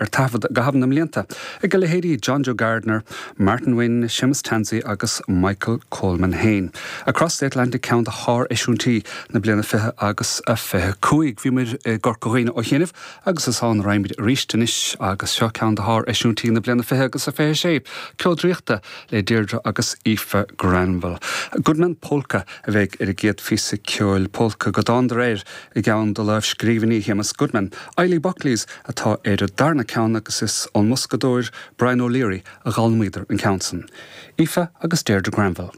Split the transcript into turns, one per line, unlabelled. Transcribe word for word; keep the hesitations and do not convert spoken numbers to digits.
Ar taifead i gcaitheamh na mblianta ag a leithéidí John Joe Gardiner, Martin Wynne, Seamus Tansey agus Michael Coleman féin. Across the Atlantic ceann de sháreisiúintí na bliana fiche agus a fiche cúig. Bhí muid i gCorca Dhuibhne ó chianaibh agus is ann a raghaimid arís anois agus seo ceann de sháreisiúintí na bliana fiche agus a fiche sé, Ceol Draíochta le Deirdre agus Aoife Granville. Goodman Polka a bheidh ar an gcéad phíosa ceoil polca go dtángadar air i gceann de lámhscríbhinní Shéamus Goodman. Eilí Buckley's atá ar an darna ceann agus is ón mboscadóir Brian O'Leary a d'fhoghlaimíodar an ceann san. Aoife agus Deirdre Granville.